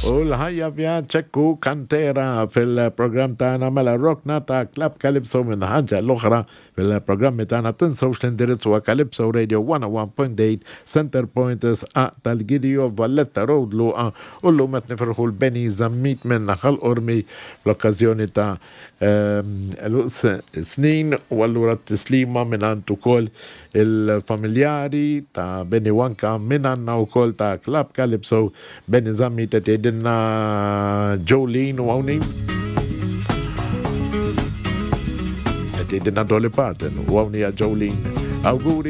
U l-ħajja vjaġġ ekku kantera fil-programm tagħna mela rokna ta' Club Calypso minn ħaġa l-oħra fil-programmi tagħna tinsewx l-indirizz huwa Calypso Radio 101.8 Center Point Sqaq tal-Gidio Valletta Road Luqa u llum qed nifirħu l-Benny Zammit minn Ħal Qormi fl-okkażjoni ta' Għeluq snin u allura t-tislima mingħand ukoll il-familjari ta' Benny u anka mingħandna wkoll ta' Club Calypso Benny Zammit qed jgħidilna Jolene u hawn hi. Qed jgħidilna Dolly Parton u hawn hija Jolene. Awguri.